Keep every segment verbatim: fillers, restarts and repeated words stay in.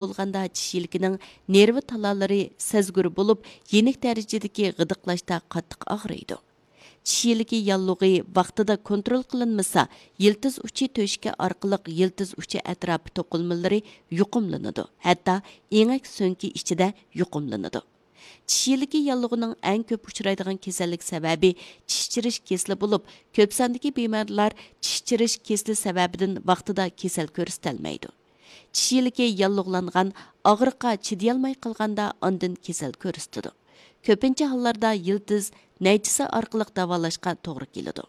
بولغاندا چىش يىلىكىنىڭ نېرۋا تالالىرى سەزگۈر بولۇپ، يېنىك دەرىجىدىكى غىدىقلاشتا قاتتىق ئاغرىيدۇ. چىش يىلىكى ياللۇغى ۋاقتىدا كونترول قىلىنمىسا، يىلتىز ئۇچى تۆشۈكى ئارقىلىق يىلتىز ئۇچى ئەتراپى توقۇلمىلىرى يۇقۇملىنىدۇ، ھەتتا ئېڭەك سۆڭىكى ئىچىدە يۇقۇملىنىدۇ. چىش يىلىكى ياللۇغىنىڭ ئەڭ كۆپ ئۇچرايدىغان كېسەللىك سەۋەبى چىش چىرىش كېسىلى بولۇپ، كۆپ ساندىكى بىمارلار چىش چىرىش كېسىلى سەۋەبىدىن ۋاقتىدا كېسەل كۆرسىتەلمەيدۇ. چىش يىلىكى ياللۇغلانغان، ئاغرىققا چىدىيالماي قالغاندا ئاندىن كېسەل كۆرسىتىدۇ. كۆپىنچە ھاللاردا يىلتىز نەيچىسى ئارقىلىق داۋالاشقا توغرا كېلىدۇ.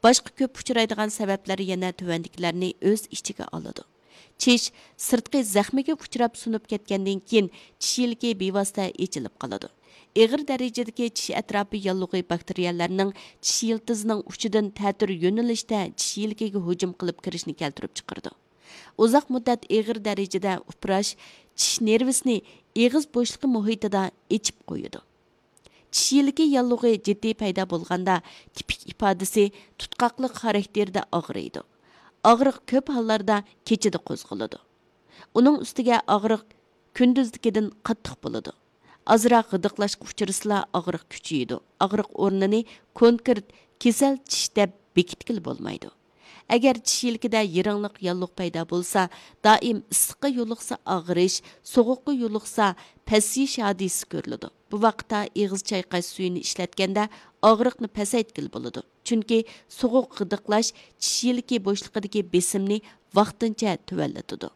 باشقا كۆپ ئۇچرايدىغان سەۋەبلەر يەنە تۆۋەندىكىلەرنى ئۆز ئىچىگە ئالىدۇ. چىش سىرتقى زەخمىگە ئۇچراپ سۇنۇپ كەتكەندىن كېيىن، چىش يىلىكى بىۋاسىتە ئېچىلىپ قالىدۇ. ئېغىر دەرىجىدىكى چىش ئەتراپى ياللۇغى باكتېرىيەلەرنىڭ چىش يىلتىزىنىڭ ئۇچىدىن تەتۈر يۆنىلىشتە چىش يىلىكىگە ھۇجۇم قىلىپ كىرىشنى كەلتۈرۈپ چىقىرىدۇ. ئۇزاق مۇددەت ئېغىر دەرىجىدە ئۇپراش چىش نېرۋىسىنى ئېغىز بوشلۇقى مۇھىتىدا ئېچىپ قويىدۇ. چىش يىلىكى ياللۇغى جىددىي پەيدا بولغاندا، تىپىك ئىپادىسى تۇتقاقلىق خاراكتېرىدە ئاغرىيدۇ. ئاغرىق كۆپ ھاللاردا كېچىدە قوزغىلىدۇ. ئۇنىڭ ئۈستىگە ئاغرىق كۈندۈزدىكىدىن قاتتىق بولىدۇ. ئازراق غىدىقلاشقا ئۇچرىسىلا، ئاغرىق كۈچىيىدۇ. ئاغرىق ئورنىنى كونكرېت كېسەل چىش دەپ بېكىتكىلى بولمايدۇ. ئەگەر چىش يىلىكىدە يىرىڭلىق ياللۇغ پەيدا بولسا، دائىم ئىسسىققا يولۇقسا ئاغرىش، سوغۇققا يولۇقسا پەسىيىش ھادىسىسى كۆرۈلىدۇ. بۇ ۋاقىتتا ئېغىز چايقاش سۈيىنى ئىشلەتكەندە ئاغرىقنى پەسەيتكىلى بولىدۇ. چۈنكى سوغۇق غىدىقلاش چىش يىلىكى بوشلۇقىدىكى بېسىمنى ۋاقتىنچە تۆۋەنلىتىدۇ.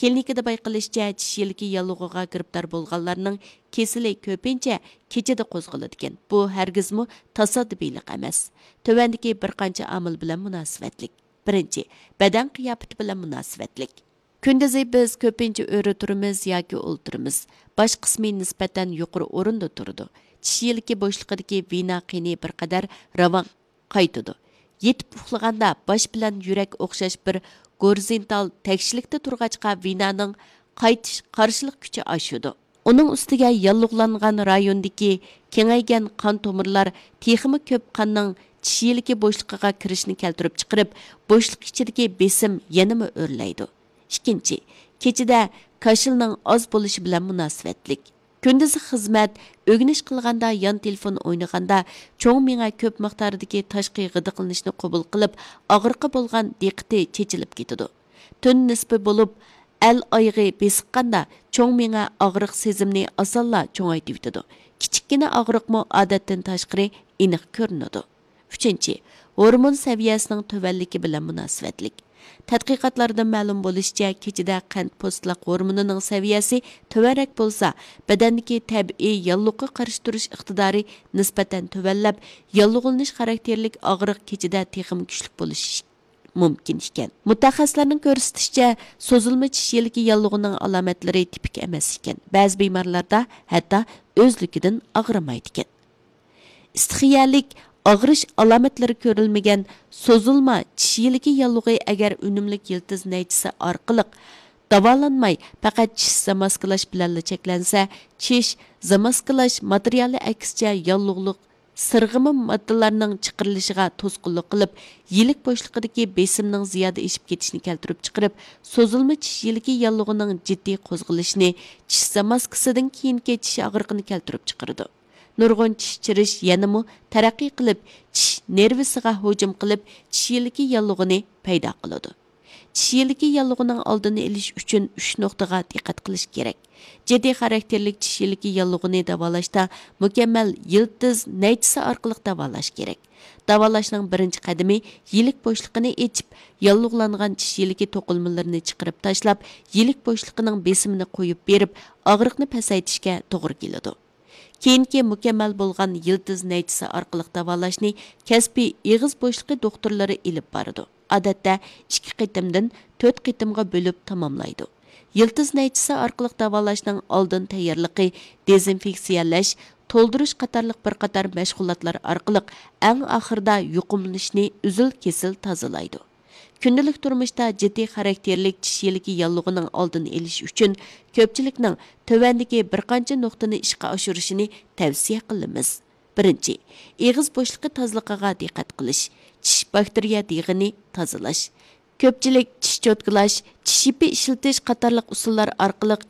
كلىنىكىدا بايقىلىشىچە، چىش يىلىكى ياللۇغىغا گىرىپتار بولغانلارنىڭ كېسىلى كۆپىنچە كېچىدە قوزغىلىدىكەن. بۇ ھەرگىزمۇ تاسادىپىيلىق ئەمەس. تۆۋەندىكى بىر قانچە ئامىل بىلەن مۇناسىۋەتلىك. بىرىنچى، بەدەن قىياپىتى بىلەن مۇناسىۋەتلىك. كۈندۈزى بىز كۆپىنچە ئۆرە تۇرىمىز ياكى ئولتۇرىمىز. باش قىسمى نىسبەتەن يۇقىرى ئورۇندا تۇرىدۇ. چىش يىلىكى بوشلۇقىدىكى ۋېنا قېنى بىر قەدەر راۋان قايتىدۇ. يېتىپ ئۇخلىغاندا باش بىلەن يۈرەك ئوخشاش بىر گورىزونتال تەكشىلىكتە تۇرغاچقا، ۋېنانىڭ قايتىش قارشىلىق كۈچى ئاشىدۇ. ئۇنىڭ ئۈستىگە ياللۇغلانغان رايوندىكى كېڭەيگەن قان تومۇرلار تېخىمۇ كۆپ قاننىڭ چىش يىلىكى بوشلۇقىغا كىرىشىنى كەلتۈرۈپ چىقىرىپ، بوشلۇق ئىچىدىكى بېسىم يەنىمۇ ئۆرلەيدۇ. ئىككىنچى، كېچىدە كاشىلنىڭ ئاز بولۇشى بىلەن مۇناسىۋەتلىك. كۈندۈزى خىزمەت، ئۆگىنىش قىلغاندا، يان تېلېفون ئوينىغاندا چوڭ مېڭە كۆپ مىقداردىكى تاشقى غىدىقلىنىشنى قوبۇل قىلىپ، ئاغرىققا بولغان دىققىتى چېچىلىپ كېتىدۇ. تۈن نىسپى بولۇپ، ئەل ئايىغى بېسىققاندا، چوڭ مېڭە ئاغرىق سېزىمىنى ئاسانلا چوڭايتىۋېتىدۇ. كىچىككىنە ئاغرىقمۇ ئادەتتىن تاشقىرى ئېنىق كۆرۈنىدۇ. ئۈچىنچى، ھورمون سەۋىيەسىنىڭ تۆۋەنلىكى بىلەن مۇناسىۋەتلىك. تەتقىقاتلاردىن مەلۇم بولۇشىچە، كېچىدە قەنت پوستلاق ھورمونىنىڭ سەۋىيەسى تۆۋەنرەك بولسا، بەدەندىكى تەبىئىي ياللۇغقا قارشى تۇرۇش ئىقتىدارى نىسبەتەن تۆۋەنلەپ، ياللۇغلىنىش خاراكتېرلىك ئاغرىق كېچىدە تېخىمۇ كۈچلۈك بولۇشى مۇمكىن ئىكەن. مۇتەخەسسىسلەرنىڭ كۆرسىتىشىچە، سوزۇلما چىش يىلىكى ياللۇغىنىڭ ئالامەتلىرى تىپىك ئەمەس ئىكەن. بەزى بىمارلاردا ھەتتا ئۆزلۈكىدىن ئاغرىمايدىكەن. ئىستىخىيەلىك ئاغرىش ئالامەتلىرى كۆرۈلمىگەن سوزۇلما چىش يىلىكى ياللۇغى ئەگەر ئۈنۈملۈك يىلتىز نەيچىسى ئارقىلىق داۋالانماي، پەقەت چىش زاماسكىلاش بىلەنلا چەكلەنسە، چىش زاماسكىلاش ماتېرىيالى ئەكسىچە ياللۇغلۇق سىرغىما ماددىلارنىڭ چىقىرىلىشىغا توسقۇنلۇق قىلىپ، يىلىك بوشلۇقىدىكى بېسىمنىڭ زىيادە ئېشىپ كېتىشىنى كەلتۈرۈپ چىقىرىپ، سوزۇلما چىش يىلىكى ياللۇغىنىڭ جىددىي قوزغىلىشىنى، چىش زاماسكىسىدىن كېيىنكى چىش ئاغرىقىنى كەلتۈرۈپ چىقىرىدۇ. نۇرغۇن چىش چىرىش يەنىمۇ تەرەققىي قىلىپ، چىش نېرۋىسىغا ھۇجۇم قىلىپ، چىش يىلىكى ياللۇغىنى پەيدا قىلىدۇ. چىش يىلىكى ياللۇغىنىڭ ئالدىنى ئېلىش ئۈچۈن ئۈچ نۇقتىغا دىققەت قىلىش كېرەك. جىددىي خاراكتېرلىك چىش يىلىكى ياللۇغىنى داۋالاشتا مۇكەممەل يىلتىز نەيچىسى ئارقىلىق داۋالاش كېرەك. داۋالاشنىڭ بىرىنچى قەدىمى يىلىك بوشلۇقىنى ئېچىپ، ياللۇغلانغان چىش يىلىكى توقۇلمىلىرىنى چىقىرىپ تاشلاپ، يىلىك بوشلۇقىنىڭ بېسىمىنى قويۇپ بېرىپ، ئاغرىقنى پەسەيتىشكە توغرا كېلىدۇ. كېيىنكى مۇكەممەل بولغان يىلتىز نەيچىسى ئارقىلىق داۋالاشنى كەسپىي ئېغىز بوشلۇقى دوختۇرلىرى ئېلىپ بارىدۇ. ئادەتتە ئىككى قېتىمدىن تۆت قېتىمغا بۆلۈپ تاماملايدۇ. يىلتىز نەيچىسى ئارقىلىق داۋالاشنىڭ ئالدىن تەييارلىقى، دېزىنفېكسىيەلەش، تولدۇرۇش قاتارلىق بىر قاتار مەشغۇلاتلار ئارقىلىق ئەڭ ئاخىرىدا يۇقۇملىنىشنى ئۈزۈل-كېسىل تازىلايدۇ. كۈندىلىك تۇرمۇشتا جىددىي خاراكتېرلىك چىش يىلىكى ياللۇغىنىڭ ئالدىنى ئېلىش ئۈچۈن كۆپچىلىكنىڭ تۆۋەندىكى بىر قانچە نۇقتىنى ئىشقا ئاشۇرۇشىنى تەۋسىيە قىلىمىز. بىرىنچى، ئېغىز بوشلۇقى تازىلىقىغا دىققەت قىلىش، چىش باكتېرىيە دېغىنى تازىلاش، كۆپچىلىك چىش چوتكىلاش، چىش يىپى ئىشلىتىش قاتارلىق ئۇسۇللار ئارقىلىق